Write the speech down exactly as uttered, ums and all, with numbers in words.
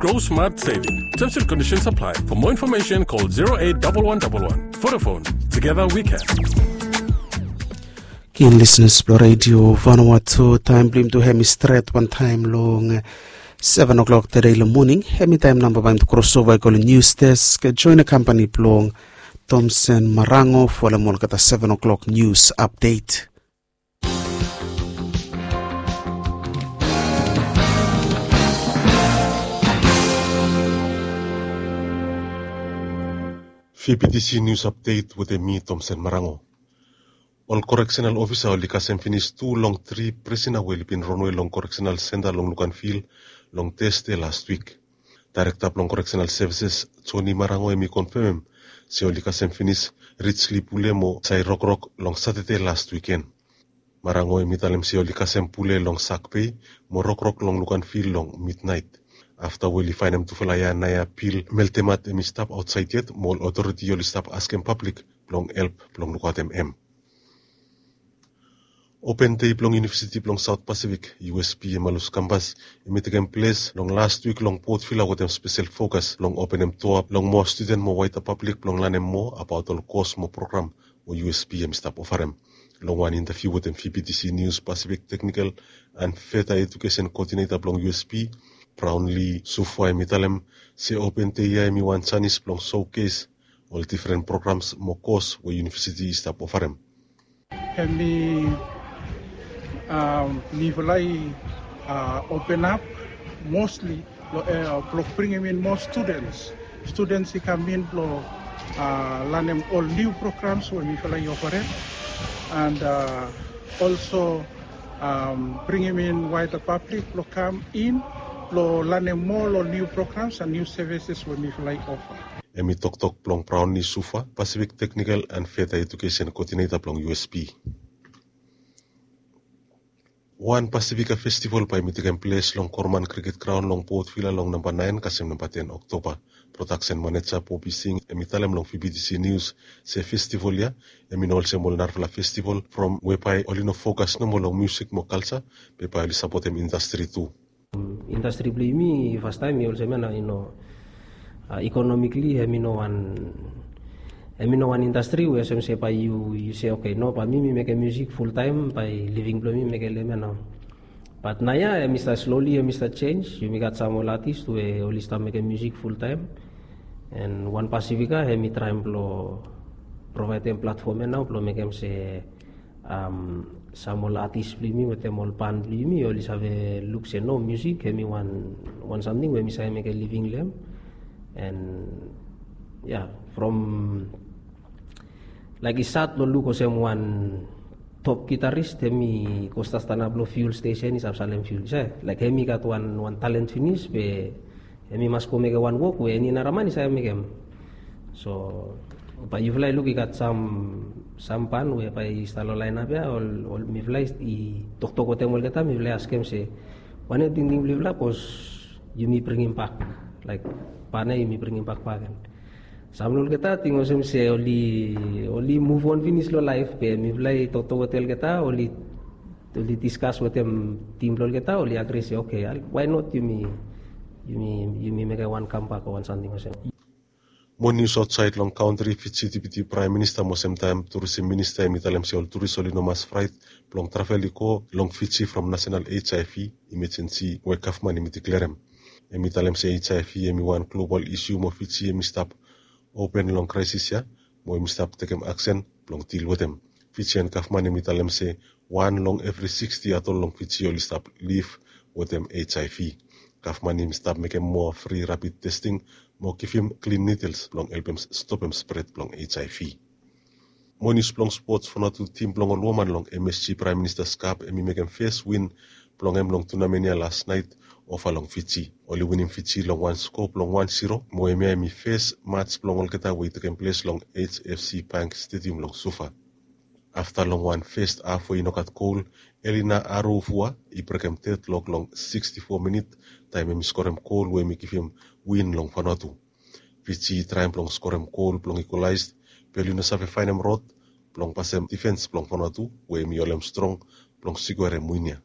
Grow smart saving. Terms and conditions apply. For more information, call zero eight double one double one. Vodafone. Together we can. Keen listeners blong Radio Vanuatu, taem blong yumi tu hemi stret wantaem long seven o'clock tede long moning. Hemi taem namba bae yumi tu krosova i go long news desk. Join the company blong Thompson Marango folem olgeta seven o'clock news update. Fibitisi nius apdet wetem mi, Tomsen Marango. Ol koreksenal ofisa oli kasem finis tu long tri prisina we oli bin ronwe long koreksenal senta long Luganville long Tesde lastwik. Daerekta blong koreksenal sevises, Joni Marango, hemi konfemem se oli kasem finis Rijsli Pule mo Sai Rokrok long Satade lastwiken. Marango hemi talem se oli kasem Pule long Sakbei mo Rokrok long Luganville long midnaet. Afta we oli faenem tufala ya naoia pil meltemat hemi stap aotsaed yet mo ol otoriti oli stap askem pablik blong help blong lukaotem hem. Open Day blong Yunivesiti blong Saot Pasifik, U S P, Emalus Kampas, hemi tekem ples long lastwik long Port Vila wetem spesel fokas blong openem doa blong moa studen mo waeda pablik blong lanem moa abaot ol kos mo program we U S P hemi stap ofarem. Long wan intaviu wetem Fibitisi Nius, Pasifik Teknikol and Feta Ejukesen Koodineta blong U S P, Brownlee Sufa, hemi talem se Open Day ya hemi wan janis blong soukes ol difren programs mo kos we yunivesiti i stap ofarem. Hemi, mifala i open ap mostli blong bringim in moa studens. Studens i kam in blong lanem ol niu programs we mifala i ofarem, and olso bringim in waeda pablik blong kam in blong lanem moa ol niu programs and niu sevises we mifala i ofa. Hemi toktok blong Brownlee Sufa, Pasifik Teknikol and Feta Ejukesen Koodineta blong U S P. Wan Pasifika Festival bae hemi tekem ples long Korman Kriket Graon long Port Vila long namba naen kasem namba ten Oktoba. Prodaksen maneja Bobby Singh hemi talem long Fibitisi Nius se festival ya hemi no olsem ol narafala festival from we bae oli no fokas nomo long musik mo kalja, be bae oli sapotem indastri tu. Indastri blong yumi fastaem i olsem ya nao, i no, ikonomikli hemi no wan, hemi no wan indastri we olsem se bae yu, yu se, oke, no, bae mi, mi mekem musik fultaem, bae living blong mi mekem lem ya nao. Bat naoia hemi stap sloli, hemi stap jenis. Yumi gat sam ol atis we oli stap mekem musik fultaem. And One Pacifica hemi traem blong provaedem platfom ya nao blong mekem se sam ol atis blong yumi wetem ol ban blong yumi oli save luk se no, musik hemi wan, wan samting we mi save mekem living long hem. And ya, from, laik, i sad long luk olsem wan top gitaris hemi go stap stanap long fuel stesen i save salem fuel, i save, laik, hemi gat wan, wan talen finis be hemi mas go mekem wan wok we eni nara man i save mekem. So bae yufala i luk i gat sam, sam ban we bae i stap long laenap ya, ol, ol mifala i toktok wetem olgeta, mifala i askem se wanem tingting blong yufala, bikos yumi bringim bak, laik, ban ya yumi bringim bak bakegen. Sam long olgeta ting olsem se oli, oli muvon finis long laef, be mifala i toktok wetem olgeta, oli, oli diskas wetem tim blong olgeta, oli agri se, oke, why not yumi, yumi, yumi mekem wan kambak o wan samting olsem. Moa nius aotsaed long kantri. Fiji Deputi Praem Minista mo semtaem Turisim Minista hemi talem se ol turis oli no mas fraet blong travel i go long Fiji from nasenal H I V imejensi we gavman hemi diklerem. Hemi talem se H I V hemi wan global isiu mo Fiji hemi stap open long kraesis ya mo hemi stap tekem aksen blong dil wetem. Fijian gavman hemi talem se wan long evri siksti adol long Fiji oli stap liv wetem H I V. Gavman hemi stap mekem moa fri rapid testing mo givim klin nidels blong helpem stopem spred blong H I V. Moa nius blong spots. Vanuatu tim blong ol woman long M S G Praem Minista Cup hemi mekem fes win blong hem long tunamen ya lasnaet ova long Fiji. Oli winim Fiji long wan skoa blong wan ziro mo hemia hemi fes mats blong olgeta we i tekem ples long H F C Bank Stadium long Suva. Afta long wan fes haf we i no gat gol, Elina Arofua i brekem dedlok long siksti fo minit taem hemi skorem gol we hemi givim win long Vanuatu. Fiji i traem blong skorem gol blong ikolaes, be oli no save faenem rod blong pasem difens blong Vanuatu we hemi holem strong blong sikuerem win ya.